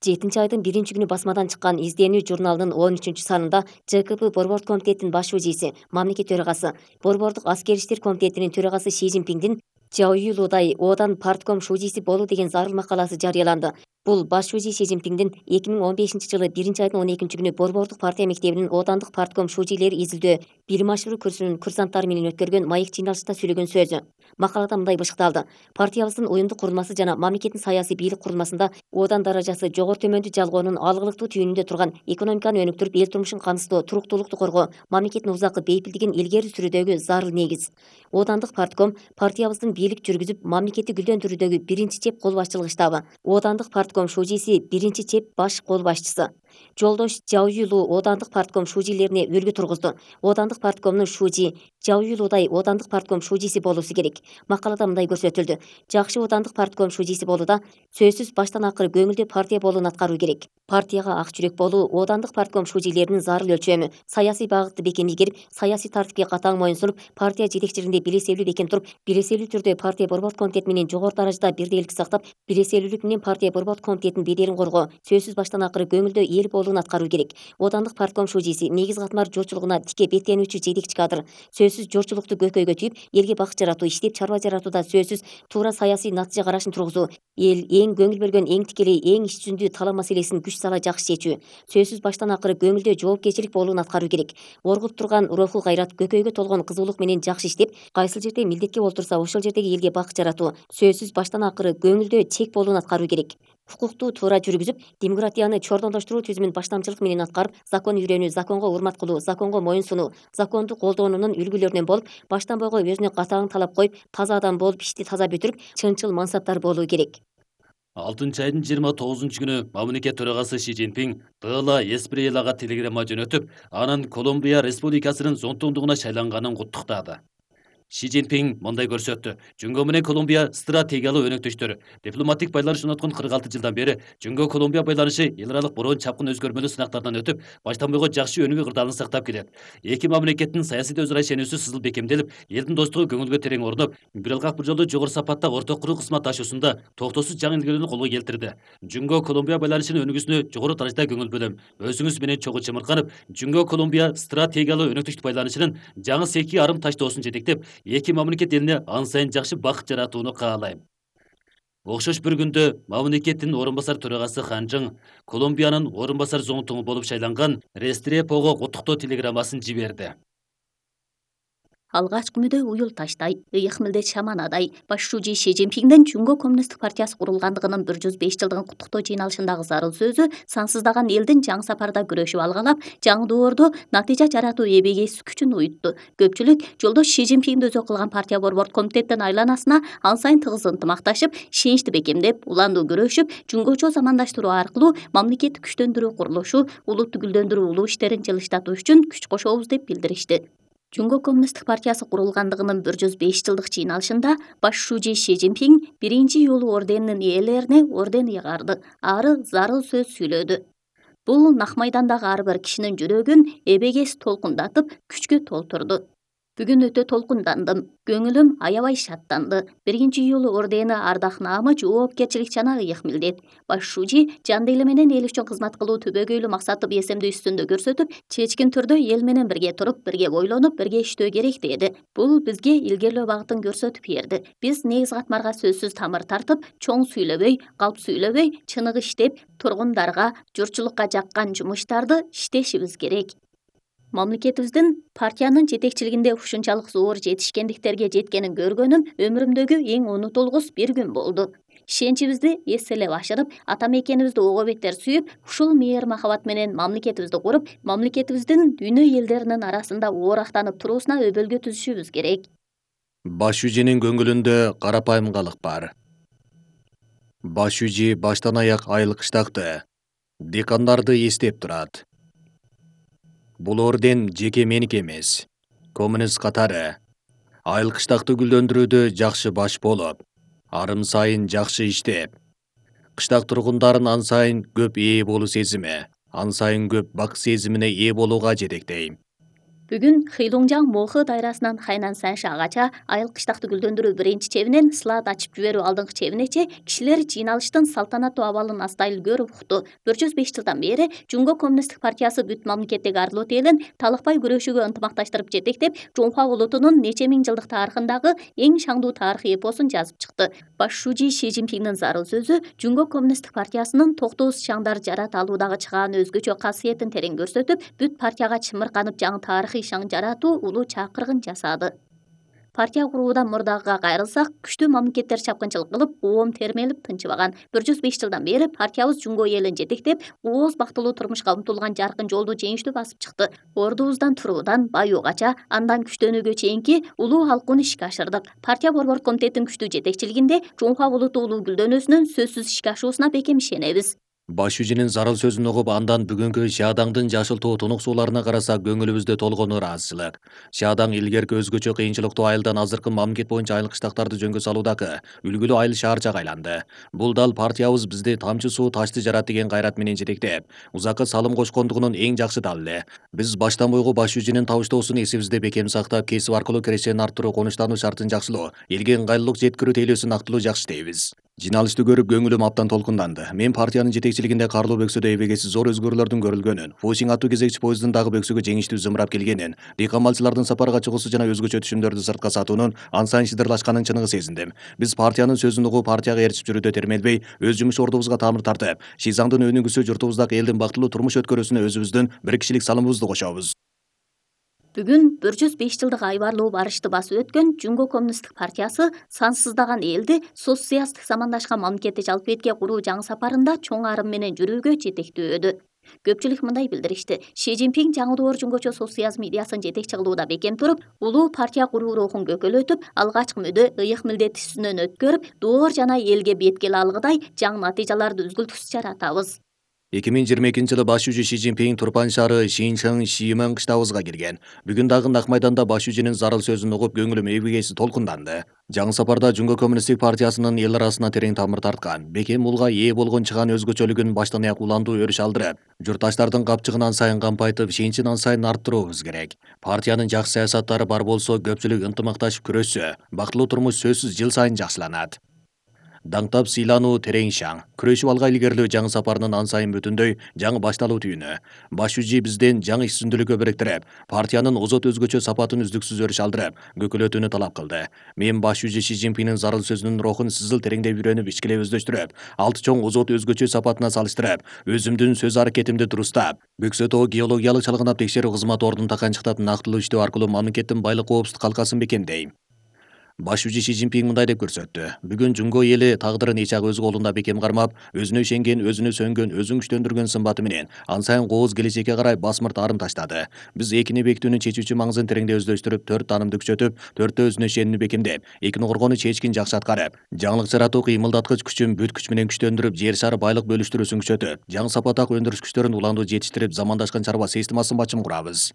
7 айдын 1-күнү басмадан чыккан «Изденүү» журналынын 13-санында ЖКП Борбордук комитетинин баш шужийси, мамлекет төрагасы, Борбордук аскер иштер комитетинин төрагасы Си Цзиньпиндин Жао Юйлудай Одан партком шужийси болуу деген зарыл макаласы жарыяланды. Бул баш шужий Си Цзиньпиндин 2015-жылы 1-айдын 12-күнү Борбордук партия мектебинин Одандык партком шужийлери изилдөө билим ашыруу курсунун курсанттары менен өткөргөн маек жыйналышында сүйлөгөн сөзү. Макалада мындай бышыкталды: партиябыздын уюмдук курулмасы жана мамлекеттин саясий бийлик курулмасында Одан даражасы жогору төмөндү жалгоонун алгылыктуу түйүнүндө турган экономиканы өнүктүрүп, эл турмушун камсыздоо, туруктуулукту коргоо, мамлекеттин узакы бейпилдигин илгери сүрүүдөгү зарыл негиз. Одандык партком партиябыздын бийлик жүргүзүп, мамлекетти гүлдөндүрүүдөгү биринчи чеп кол башчылык штабы. Одандык партком шужийси биринчи чеп баш кол башчысы. Жолдош Жао Юйлу Одандык партком шужийлерине үлгү тургузду. Одандык парткомдун шужи Жао Юйлудай Одандык партком шужийси болуусу керек. Макалада мындай көрсөтүлдү: жакшы Одандык партком шужийси болууда сөзсүз баштан акыры көңүлдүү партия болуун аткаруу керек. Партияга ак жүрөк болуу Одандык партком шужийлеринин зарыл өлчөмү. Саясий багытты бекем ийгирип, саясий тартипке катаң моюнсунуп, партия жетекчилигинде белеселүү бекем туруп, белеселүү түрдө партия Борбордук комитети менен жогору даражада бирдейлик сактап, белеселүүлүк менен партия Борбордук комитетинин беделин коргоо, сөзсүз баштан акыры көңүлдүү эл болуун аткаруу керек. Одандык партком шужийси негиз катмар журчулугуна тике беттенүүчү жетекчи кадр. Сөзсүз журчулукту көкөйгө түйүп, элге бакыт жаратуу, иштеп чарба жаратууда сөзсүз туура саясий натыйжа карашын тургузуу, эл эң көңүл бөлгөн, эң тикелей, эң ич жүзүндүү талап маселесин күч сала жакшы чечүү, сөзсүз баштан акыры көңүлдүү жоопкерчилик болуун аткаруу керек. Оргуп турган руху кайрат, көкөйгө толгон кызуулук менен жакшы иштеп, кайсыл жерде милдетке олтурса, ошол жердеги элге бакыт жаратуу, сөзсүз баштан акыры көңүлдүү чек болуун аткаруу керек. Укукту туура жүргүзүп, демократияны чордондоштуруу түзүмүн баштамчылык менен аткарып, закон үйрөнүү, законго урмат кылуу, законго моюн сунуу, законду колдоонунун үлгүлөрүнөн болуп, баштан бойго өзүнө катаң талап коюп, таза адам болуп, ишти таза бүтүрүп, чынчыл мансаптар болуу керек. 6-айдын 29-күнү мамлекет төрагасы Си Цзиньпин Тыла Эсприелага телеграмма жөнөтүп, анын Колумбия Республикасынын зонтундугуна шайланганын куттуктады. Си Цзиньпин мындай көрсөттү: Жөнгө менен Колумбия стратегиялык өнөктөштөр. Дипломатик байланыш орноткон 46 жылдан бери Жөнгө Колумбия байланышы эл аралык бороон чапкын өзгөрмөлүү сынактардан өтүп, баштан бойго жакшы өнүгүү кырдаалын сактап келет. Эки мамлекеттин саясий өзара ишенүүсү сызыл бекемделип, элдин достугу көңүлгө терең орноп, бир алкак бир жолу жогору сапатта орток куруу кызмат ташуусунда токтоосуз жаңы илгөөнү колго келтирди. Жөнгө Колумбия байланышынын өнүгүүсүнө жогору даражада көңүл бөлөм. Өзүңүз менен чогуу чымырканып, Жөнгө Колумбия стратегиялык өнөктөштүк байланышынын жаңы секи арым таштоосун жетектеп, эки мамлекет элине ан сайын жакшы бакыт жаратууну каалайм. Окшош бир күндө мамлекеттин орун басар төрагасы Ханжың Колумбиянын орун басар зонтугу болуп шайланган Рестрепого куттуктоо телеграммасын жиберди. Алгач күнүдө уюл таштай, ыйык милдет шаманадай баш шужий Си Цзиньпиндин Жөнгө коммунисттик партиясы курулгандыгынын 105 жылдыгын куттуктоо жыйналышындагы зарыл сөзү сансыздаган элдин жаңы сапарда күрөшүп алгалап, жаңы доордо натыйжа жаратуу эбегейсиз күчүн уютту. Көпчүлүк жолдош Си Цзиньпинди өзү кылган партия Борбордук комитеттин айланасына ан сайын тыгыз ынтымакташып, ишеничти бекемдеп, уланду күрөшүп, жөнгөчө замандаштыруу аркылуу мамлекетти күчтөндүрүү курулушу, улутту гүлдөндүрүү улуу иштерин жылыштатуу үчүн күч кошобуз деп билдиришти. Жөнгө коммунисттик партиясы курулгандыгынын 105 жылдык жыйналышында баш шужий Си Цзиньпин биринчи юлу орденинин ээлерине орден ыйгарды, ары зарыл сөз сүйлөдү. Бул нак майдандагы ар бир кишинин жүрөгүн эбегейсиз толкундатып, күчкө толтурду. Бүгүн өтө толкундандым, көңүлүм аябай шаттанды. Биринчи юлу ордени ардак наамы, жоопкерчилик жана ыйык милдет. Баш шужий жан дили менен эл үчүн кызмат кылуу түбөгөйлүү максатты бесемдүү үстүндө көрсөтүп, чечкин түрдө эл менен бирге туруп, бирге бойлонуп, бирге иштөө керек деди. Бул бизге илгерлөө багытын көрсөтүп берди. Биз негиз катмарга сөзсүз тамыр тартып, чоң сүйлөбөй, калп сүйлөбөй, чыныгы иштеп, тургундарга, журтчулукка жаккан жумуштарды иштешибиз керек. Мамлекетибиздин партиянын жетекчилигинде ушунчалык зор жетишкендиктерге жеткенин көргөнүм өмүрүмдөгү эң унутулгус бир күн болду. Ишеничибизди эселеп ашырып, ата мекенибизди ого беттер сүйүп, ушул мээр махабат менен мамлекетибизди куруп, мамлекетибиздин дүйнө элдеринин арасында оорактанып туруусуна өбөлгө түзүшүбүз керек. Баш шужинин көңүлүндө карапайымгалык бар. Баш шужи баштан аяк айыл кыштакты, декандарды эстеп турат. Бул орден жеке меники эмес. Коммунист катары айыл кыштакты гүлдөндүрүүдө жакшы баш болуп, арым сайын жакшы иштеп, кыштак тургундарын ан сайын көп ээ болуу сезими, ан сайын көп бак сезимине ээ болууга жетектейм. Бүгүн Хыйлуңжаң Мохы дайрасынан Хайнан Саншагача айыл кыштакты гүлдөндүрүү биринчи чебинен слад ачып жиберүү алдыңкы чебинече кишилер жыйналыштын салтанаттуу абалын астайыл көрүп укту. 105 жылдан бери Жумго Коммунисттик партиясы бүт мамлекеттеги арлоот элин талыкпай күрөшүүгө ынтымакташтырып жетектеп, Жунхва улутунун нече миң жылдык тарыхындагы эң шаңдуу тарыхый эпосун жазып чыкты. Баш шужи Ши Цзиньпиндин зарыл сөзү Жумго Коммунисттик партиясынын токтоосуз шаңдар жарата алуудагы чыгааны өзгөчө касиетин терең көрсөтүп, бүт партияга чымырканып жаңы тарыхый шаң жаратуу улуу чакыргын жасады. Партия куруудан мурдагыга кайрылсак, күчтүү мамлекеттер чапкынчылык кылып, оом термелип тынчыбаган. 105 жылдан бери партиябыз Жунго элин жетектеп, ооз бактылуу турмушка умтулган жаркын жолду жеңиштүү басып чыкты. Ордубуздан туруудан баюугача, андан күчтөнүүгө чейинки улуу алкууну ишке ашырдык. Партия борбордук комитеттин күчтүү жетекчилигинде Жунхва улуту улуу гүлдөнүүсүнүн сөзсүз ишке ашуусуна бекем ишенебиз. Баш шужинин зарыл сөзүн угуп, андан бүгүнкү Шаадаңдын жашылтуу тунук сууларына карасак, көңүлүбүздө толгону ыраазычылык. Шаадаң илгерки өзгөчө кыйынчылыктуу айылдан азыркы мамлекет боюнча айыл кыштактарды жөнгө салуудагы үлгүлүү айыл шаарчага айланды. Бул дал партиябыз бизди тамчы суу ташты жарат деген кайрат менен жетектеп, узакка салым кошкондугунун эң жакшы далили. Биз баштан бойгу баш шужинин табыштоосун эсибизде бекем сактап, кесип аркылуу кирешени арттыруу, конуштануу шартын жакшылоо, элге ыңгайлуулук жеткирүү тейлөөсүн актылуу жакшы дейбиз. Жиналышты көрүп көңүлүм абдан толкунданды. Мен партиянын жетекчилигинде Карлуу бөксөдө эбегеси зор өзгөрүүлөрдүн көрүлгөнүн, Фусиң аттуу кезекчи поезддин дагы бөксөгө жеңиштүү зымырап келгенин, дыйкан малчылардын сапарга чыгуусу жана өзгөчө түшүмдөрдү сыртка сатуунун ансайын шыдырлашканын чыныгы сезиндим. Биз партиянын сөзүн угуп, партияга ээрчип жүрүүдө термелбей, өз жумуш ордубузга тамыр тартып, Шизаңдын өнүгүүсү, журтубуздагы элдин бактылуу турмуш өткөрүүсүнө өзүбүздүн бир кишилик салымыбызды кошобуз. Бүгүн 105 жылдык айбарлуу барышты басып өткөн Жунго Коммунисттик партиясы сансыздаган элди социалисттик замандашкан мамлекетти жалпы этке куруу жаңы сапарында чоң арым менен жүрүүгө жетектөөдү. Көпчүлүк мындай билдиришти: Ши Цзиньпин жаңы доор жунгочо социализм идеясын жетекчи кылууда бекем туруп, улуу партия куруу рухун көкөлөтүп, алгачкы мүдө, ыйык милдет үстүнөн өткөрүп, доор жана элге беткил алгыдай жаңы натыйжаларды үзгүлтүксүз жаратабыз. 2022-жылы баш шужи Ши Цзиньпин Турпан шаары Шинчэн Шимэн кыштабызга кирген. Бүгүн дагы Нак майданда баш шужинин зарыл сөзүн угуп, көңүлүм эбегейси толкунданды. Жаңы сапарда Жунго Коммунисттик партиясынын эл арасына терең тамыр тарткан, бекем улга ээ болгон чыгаан өзгөчөлүгүн баштан аяк уландуу өрүш алдырып, журтташтардын капчыгын ансайын кампайтып, ишенчин ансайын арттыруубуз керек. Партиянын жакшы саясаттары бар болсо, көпчүлүк ынтымакташып күрөшсө, бактылуу турмуш сөзсүз жыл сайын жакшыланат. Даңтап сыйлануу терең шаң, күрөшүп алга илгерилөө жаңы сапарынын ансайын бүтүндөй жаңы башталуу түйүнү. Баш шужи бизден жаңы иш сүндүлүккө бириктирип, партиянын озот өзгөчө сапатын үздүксүз өрүш алдырып, көкөлөтүүнү талап кылды. Мен баш шужи Ши Цзиньпиндин зарыл сөзүнүн рухун сызыл тереңдеп үйрөнүп, ичкилеп өздөштүрүп, алты чоң озот өзгөчө сапатына салыштырып, өзүмдүн сөз аракетимди дурустап, Бөксө тоо геологиялык чалгынап текшерүү кызматы ордун таканчыктап, нактылуу иштөө аркылуу мамлекеттин байлык коопсуздук калкасын бекемдейм. Баш шужи Ши Цзиньпин мындай деп көрсөттү: бүгүн Жунго эли тагдырын эч ак өз колунда бекем кармап, өзүнө ишенген, өзүнө сөнгөн, өзүн күчтөндүргөн сымбаты менен ансайын кооз келечекке карай басмырт арым таштады. Биз экини бекитүүнүн чечүүчү маңызын тереңдеп өздөштүрүп, 4 таанымды күчөтүп, 4тө өзүнө ишенүүнү бекемдеп, экини коргоону чечкин жакшы аткарып, жаңылык жаратуу кыймылдаткыч күчүн бүт күч менен күчтөндүрүп, жер шары байлык бөлүштүрүүсүн күчөтүп, жаңы сапаттагы өндүрүш күчтөрүн уландуу жетиштирип, замандашкан чарба системасын бачым курабыз.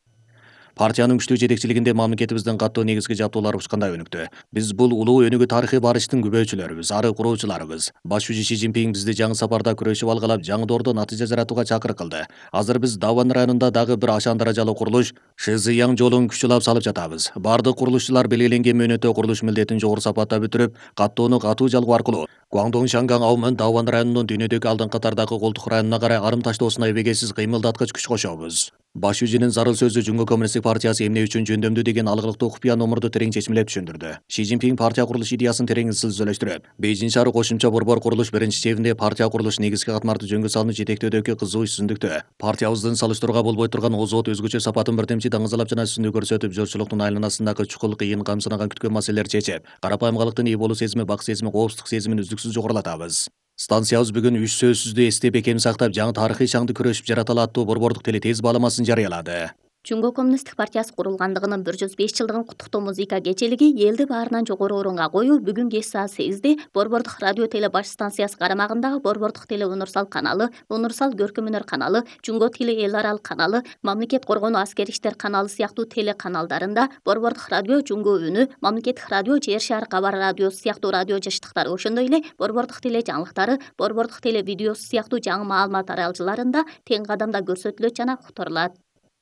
Партиянын күчтүү жетекчилигинде мамлекетибиздин каттуу негизги жаптоолору учкандай өнүктү. Биз бул улуу өнүгүү тарыхый барыштын күбөчүлөрүбүз, ары куруучуларыбыз. Баш шужи Ши Цзиньпин бизди жаңы сапарда күрөшүп алгалап, жаңы доордо натыйжа жаратууга чакырык кылды. Азыр биз Даван районунда дагы бир ашан даражалуу курулуш Шызыяң жолун күчүлап салып жатабыз. Бардык курулушчулар белгиленген мөөнөттө курулуш милдетин жогору сапатта бүтүрүп, каттоону катуу жалгоо аркылуу Гуаңдоң Шанган Аумын Даван районунун дүйнөдөгү алдыңкы катардагы колтук районуна карай арым таштоосуна эбегейсиз кыймылдаткыч күч кошобуз. Баш шужинин зарыл сөзү Жунго Коммунисттик партиясы эмне үчүн жөндөмдүү деген алгылыктуу купуя номурду терең чечмелеп түшүндүрдү. Ши Цзиньпин партия курулуш идеясын терең изилдөштүрүп, Бейжин шаары кошумча борбор курулуш биринчи чебинде партия курулуш негизги катмарды жөнгө салууну жетектөөдөгү кызуу иш сүндүктө партиябыздын салыштырууга болбой турган озот өзгөчө сапатын бирдемчи даңызалап жана үстүндүү көрсөтүп, журтчулуктун айланасындагы чукул, кыйын, камсынаган күткөн маселелерди чечип, карапайымгалыктын ээ болуу сезими, бак сезими, коопсуздук сезимин үздүксүз жогорулатабыз. Станциябыз бүгүн 3 сөзсүздү эстеп, бекем сактап, жаңы тарыхый шаңды күрөшүп жараталы аттуу борбордук теле тез бааламасын жарыялады. Жунго Коммунисттик партиясы курулгандыгынын 105 жылдыгын куттуктоо музыка кечелиги элди баарынан жогору орунга коюу бүгүн кеч саат 8де борбордук радио теле баш станциясы карамагындагы борбордук теле Унурсал каналы, Унурсал көркөм өнөр каналы, Жунго тили эл аралык каналы, Мамлекет коргонуу аскер иштер каналы сыяктуу теле каналдарында, борбордук радио Жунго үнү, Мамлекеттик радио Жер шаар кабар радиосу сыяктуу радио жыштыктары, ошондой эле борбордук теле жаңылыктары, борбордук теле видеосу сыяктуу жаңы маалымат аралжыларында тең кадамда көрсөтүлөт жана уктурулат.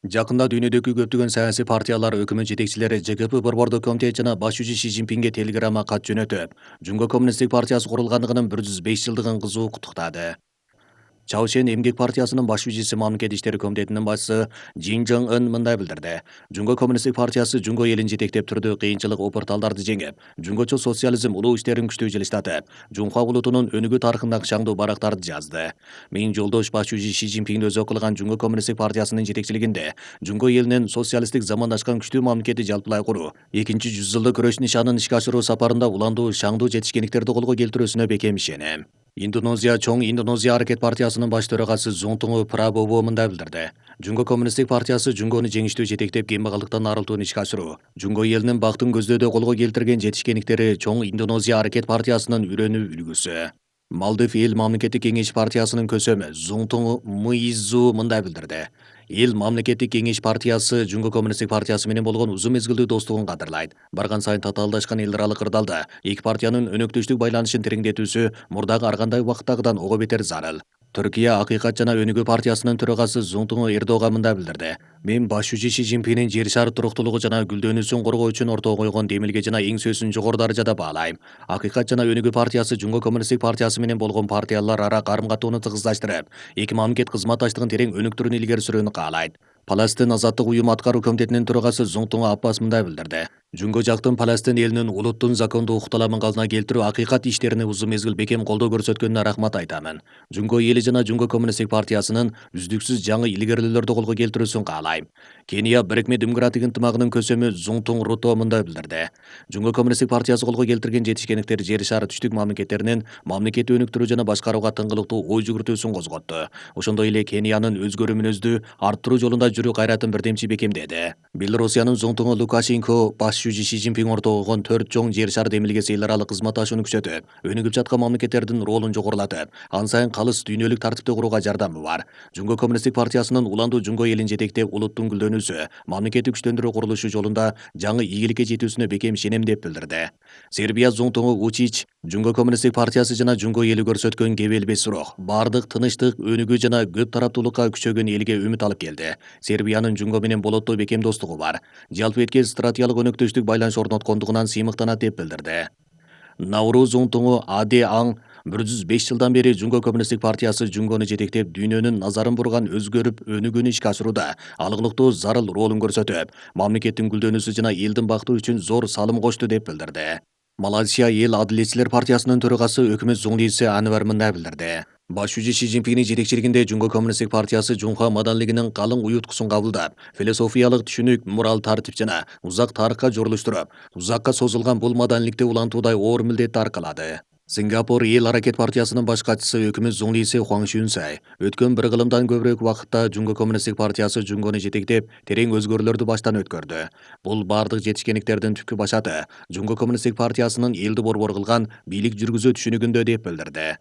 Жакында дүйнөдөгү көптөгөн саясий партиялар өкмөт жетекчилери ЖКП борбордук комитет жана башчы Ши Цзиньпинге телеграмма кат жөнөтүп, Жумго коммунисттик партиясы курулгандыгынын 105 жылдыгын кызуу куттуктады. Чаошен эмгек партиясынын башчысы мамлекет иштери комитетинин башчысы Жин Жон Ын мындай билдирди. Жумго коммунисттик партиясы Жумго элин жетектеп түрдүү кыйынчылык опурталдарды жеңип, жумгочо социализм улуу иштерин күчтүү жылыштатып, Жунхва улутунун өнүгүү тарыхындагы шаңдуу барактарды жазды. Менин жолдош башчы Ши Цзиньпинди өзү кылган Жумго коммунисттик партиясынын жетекчилигинде Жумго элинин социалисттик замандашкан күчтүү мамлекети жалпылай куруу, экинчи 100 жылдык күрөш нишанын ишке ашыруу сапарында уландуу шаңдуу жетишкендиктерди колго келтирүүсүнө бекем ишенем. Чоң Индонезия аракет партиясынын баш төрагасы Зунтуңу Прабобо мындай билдирди. Жумго коммунисттик партиясы Жумгону жеңиштүү жетектеп кембагалдыктан арылтууну ишке ашыруу, Жумго элинин бактын көздөдө колго келтирген жетишкендиктери Чоң Индонезия аракет партиясынын үйрөнүү үлгүсү. Малдив эл мамлекеттик кеңеш партиясынын көсөмү Зунтуң Муиззу мындай билдирди. Эл мамлекеттик кеңеш партиясы Жумго коммунисттик партиясы менен болгон узун мезгилдүү достугун кадырлайт. Барган сайын татаалдашкан эл аралык кырдаалда эки партиянын өнөктөштүк байланышын тереңдетүүсү мурдагы ар кандай убакыттагыдан ого бетер зарыл. Түркия Акыйкат жана Өнүгүү партиясынын төрагасы Зунтуң Эрдоган мындай билдирди. Мен башчы Ши Цзиньпиндин жер шары туруктуулугу жана гүлдөнүүсүн коргоо үчүн ортого койгон демилге жана эң сөзсүн жогору даражада баалайм. Акыйкат жана Өнүгүү партиясы Жумго коммунисттик партиясы менен болгон партиялар ара карым-катууну тыгыздаштырып, эки мамлекет кызматташтыгын терең өнүктүрүүнү илгери сүрүүнү каалайт. Палестин азаттык уюму аткаруу комитетинин төрагасы Зунтуң Аппас мындай билдирди. Жумго жактын Палестин элинин улуттун закондуу укталамын калдына келтирүү акыйкат иштерине узун мезгил бекем колдоо көрсөткөнүнө рахмат айтамын. Жумго эли жана Жумго коммунисттик партиясынын үздүксүз жаңы илгерилүүлөрдү колго келтирүүсүн каалайм. Кения Бирикме демократик ынтымагынын көсөмү Зунтуң Руто мындай билдирди. Жумго коммунисттик партиясы колго келтирген жетишкендиктер жер шары түштүк мамлекеттеринин мамлекетти өнүктүрүү жана башкарууга тыңгылыктуу ой жүгүртүүсүн козготту. Ошондой эле Кениянын өзгөрүү мүнөздүү арттыруу жолунда жүрүү кайратын бирдемчи бекемдеди. Белоруссиянын Зунтуңу Лукашенко башчы Ши Цзиньпин ортого койгон 4 чоң жер шар демилгеси эл аралык кызматташууну күчөтүп, өнүгүп жаткан мамлекеттердин ролун жогорулатып, ан сайын калыс дүйнөлүк тартипти курууга жардамы бар. Жумго коммунисттик партиясынын уландуу Жумго элин жетектеп улуттун гүлдөнүүсү, мамлекетти күчтөндүрүү курулушу жолунда жаңы ийгиликке жетүүсүнө бекем ишенем деп билдирди. Сербия Зунтуңу Вучич Жумго коммунисттик партиясы жана Жумго эли көрсөткөн кебелбес рух, бардык тынычтык, өнүгүү жана көп тараптуулукка күчөгөн элге үмүт алып келди. Сербиянын Жумго менен болоттуу бекем достугу бар. Жалпы эткез стратегиялык өнөктөштүк байланыш орноткондугунан сыймыктанат деп билдирди. Науру Зунтуңу Аде Аң 105 жылдан бери Жумго коммунисттик партиясы Жумгону жетектеп дүйнөнүн назарын бурган өзгөрүп өнүгүүнү ишке ашырууда алгылыктуу зарыл ролун көрсөтүп, мамлекеттин гүлдөнүүсү жана элдин бакыты үчүн зор салым кошту деп билдирди. Малайзия эл адилетчилер партиясынын төрагасы өкмөт зуңлиси Анвар мындай билдирди. Башчы Ши Цзиньпиндин жетекчилигинде Жумго коммунисттик партиясы Жунхва маданилигинин калың уюткусун кабылдап, философиялык түшүнүк, морал тартип жана узак тарыхка жорулуштуруп, узакка созулган бул маданиликти улантуудай оор милдетти аркалады. Сингапур эл аракет партиясынын баш катчысы өкмөт зуңлиси Хуан Шунсай өткөн бир кылымдан көбүрөөк убакытта Жумго коммунисттик партиясы Жумгону жетектеп, терең өзгөрүүлөрдү баштан өткөрдү. Бул бардык жетишкендиктердин түпкү башаты Жумго коммунисттик партиясынын элди борбор кылган бийлик жүргүзүү түшүнүгүндө деп билдирди.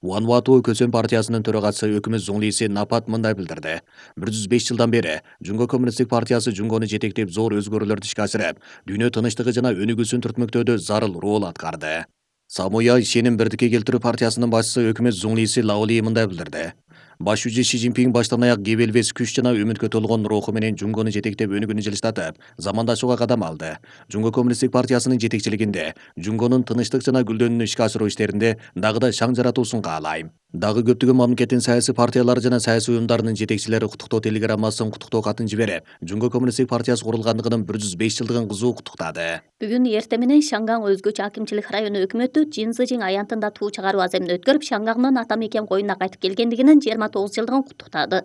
Вануату көсөм партиясынын төрагасы өкмөт зуңлиси Напат мындай билдирди. 105 жылдан бери Жумго коммунисттик партиясы Жумгону жетектеп зор өзгөрүүлөрдү ишке ашырып, дүйнө тынычтыгы жана өнүгүүсүн түртмөктөөдө зарыл рол аткарды. Самуя ишеним бирдикке келтирүү партиясынын башчысы өкмөт зуңлиси Лаоли мындай билдирди. Башчы Ши Цзиньпин баштан аяк кебелбес күч жана үмүткө толгон руху менен Жумгону жетектеп өнүгүүнү жылыштатып, замандашууга кадам алды. Жумго коммунисттик партиясынын жетекчилигинде Жумгонун тынычтык жана гүлдөнүүнү ишке ашыруу иштеринде дагы да шаң жаратуусун каалайм. Дагы көптөгөн мамлекеттин саясий партиялары жана саясий уюмдарынын жетекчилери куттуктоо телеграммасын, куттуктоо катын жиберип, Жумго коммунисттик партиясы курулгандыгынын 105 жылдыгын кызуу куттуктады. Бүгүн эртең менен Шангаң өзгөчө акимчилик району өкмөтү Жин Цзижиң аянтында туу чыгаруу аземин өткөрүп, Шангаңдын ата мекен коюнуна кайтып келгендигинин 29 жылдыгын куттуктады.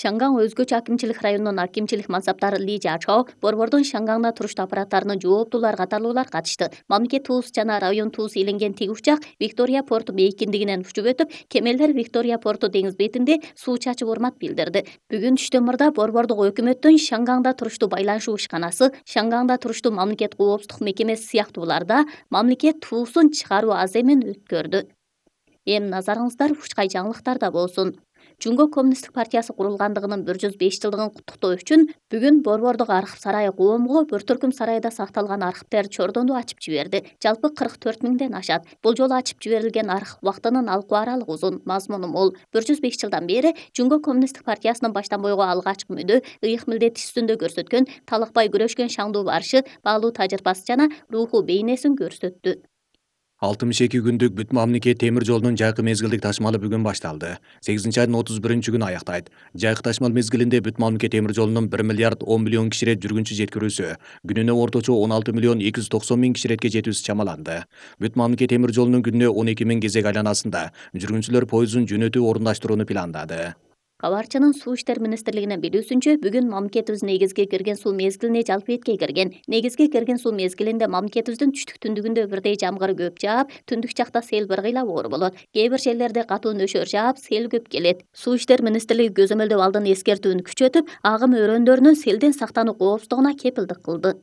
Шангаң өзгөчө акимчилик районунун акимчилик мансаптары Ли Жачао, борбордун Шангаңда туруштуу аппараттарынын жооптуулар катарлуулар катышты. Мамлекет туус жана район туус иленген тиги учак Виктория порту бейкиндигинен учуп өтүп, кемелер Виктория порту деңиз бетинде суу чачып урмат билдирди. Бүгүн түштөн мурда борбордук өкмөттүн Шангаңда туруштуу байланышуу ишканасы, Шангаңда туруштуу мамлекет коопсуздук мекемеси сыяктууларда мамлекет туусун чыгаруу аземин өткөрдү. Эми назарыңыздар ушкай жаңылыктарда болсун. Жунго коммунисттик партиясы курулгандыгынын 105 жылдыгын куттуктоо үчүн бүгүн Борбордук архив сарайы коомго Бөртөркүм сарайда сакталган архивдер чордону ачып жиберди. Жалпы 44 миңден ашат. Бул жолу ачып жиберилген архив убактынын алкуу аралыгы узун, мазмуну мол. 105 жылдан бери Жунго коммунисттик партиясынын баштан буйго алгачкы мүдө, ыйык милдет үстүндө көрсөткөн, талакпай күрөшкөн шаңдуу барышы, баалуу тажрыйбасы жана руху бейнесин көрсөттү. 62 күндүк бүт мамлекет темир жолунун жайкы мезгилдик ташмалы бүгүн башталды. 8-айдын 31-күнү аяктайт. Жайкы ташмал мезгилинде бүт мамлекет темир жолунун 1 миллиард 10 миллион киширет жүргүнчү жеткирүүсү, күнүнө орточо 16 миллион 290 миң киширетке жетүүсү чамаланды. Бүт мамлекет темир жолунун күнүнө 12 миң кезек айланасында жүргүнчүлөр пойузун жөнөтүү орундаштырууну пландады. Кабарчынын Суу иштер министрлигинин билүүсүнчө, бүгүн мамлекетибиз негизги кирген суу мезгилине жалпы этке кирген. Негизги кирген суу мезгилинде мамлекетибиздин түштүк түндүгүндө бирдей жамгыр көп жаап, түндүк жакта сел бир кыйла оор болот. Кээ бир жерлерде катуу нөшөр жаап, сел көп келет. Суу иштер министрлиги көзөмөлдөп алдын эскертүүнү күчөтүп, агым өрөөндөрүнүн селден сактануу коопсуздугуна кепилдик кылды.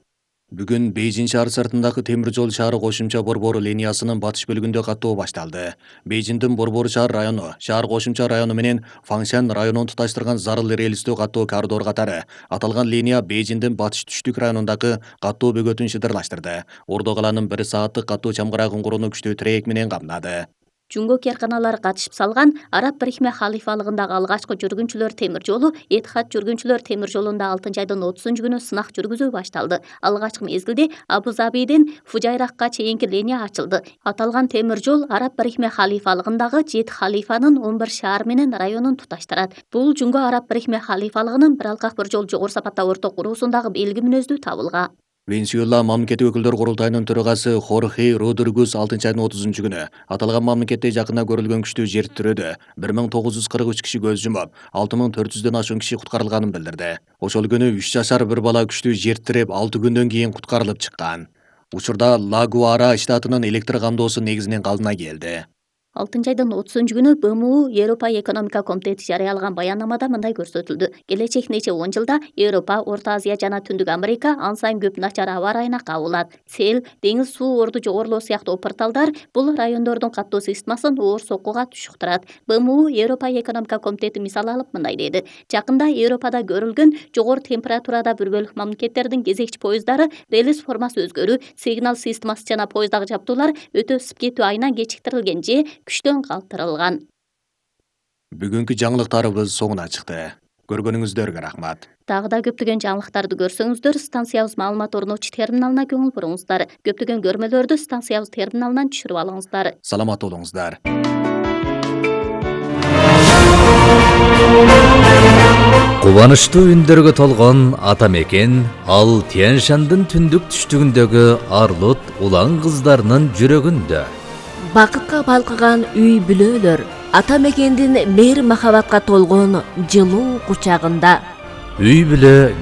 Бүгүн Бейжин шаар сыртындагы темир жол шаары кошумча борбору линиясынын батыш бөлүгүндө каттоо башталды. Бейжиндин Борбор шаар району, шаар кошумча району менен Фаңшан районун туташтырган зарыл рельстүү каттоо коридор катары аталган линия Бейжиндин батыш түштүк районундагы каттоо бөгөтүн шыдырлаштырды. Ордо каланын 1 сааттык каттоо чамгырагын курууну күчтүү тирек менен камдады. Жунго керканалары катышып салган Араб Бирикме халифалыгындагы алгачкы жүргүнчүлөр темир жолу Этихад жүргүнчүлөр темир жолунда 6-айдын 30-күнү сынак жүргүзүү башталды. Алгачкы мезгилде Абу Забиден Фужайракка чейинки линия ачылды. Аталган темир жол Араб Бирикме халифалыгындагы 7 халифанын 11 шаар менен районун туташтырат. Бул Жунго Араб Бирикме халифалыгынын бир алкак бир жол жогору сапатта орто куруусундагы белги мүнөздүү табылга. Венесуэла мамлекеттик өкүлдөр курултайынын төрагасы Хорхе Родригес 6-айдын 30-күнү аталган мамлекетте жакында көрүлгөн күчтүү жер тирөөдө 1943 киши көз жумуп, 6400дөн ашуун киши куткарылганын билдирди. Ошол күнү 3 жашар бир бала күчтүү жер тиреп 6 күндөн кийин куткарылып чыккан. Учурда Ла-Гуара штатынын электр камдоосу негизинен калдына келди. 6-айдын 30-күнү БМУ Европа экономика комитети жарыялаган баяннамада мындай көрсөтүлдү. Келечек нече 10 жылда Европа, Орто Азия жана Түндүк Америка ан сайын көп начар аба ырайына кабылат. Сел, деңиз суу орду жогорулоо сыяктуу порталдар бул райондордун каттоо системасын оор соккуга түшүктүрат. БМУ Европа экономика комитети мисал алып мындай деди. Жакында Европада көрүлгөн жогору температурада бир бөлүк мамлекеттердин кезекчи поезддары релиз формасы өзгөрүү, сигнал системасы жана поезддагы жабдуулар өтө ысып кетүү айынан кечиктирилген же күчтөн калтырылган. Бүгүнкү жаңылыктарыбыз соңуна чыкты. Көргөнүңүздөргө рахмат. Дагы да көптөгөн жаңылыктарды көрсөңүздөр, станциябыз маалымат орнотуучу терминалына көңүл буруңуздар. Көптөгөн көрмөлөрдү станциябыз терминалынан түшүрүп алыңыздар. Саламат болуңуздар. Кубанычтуу үндөргө толгон ата мекен ал Тянь-Шандын түндүк түштүгүндөгү Арлут улан кыздарынын жүрөгүндө. Бакытка балкыган үй бүлөлөр ата мекендин мейир махабатка толгон жылуу кучагында. Үй бүлө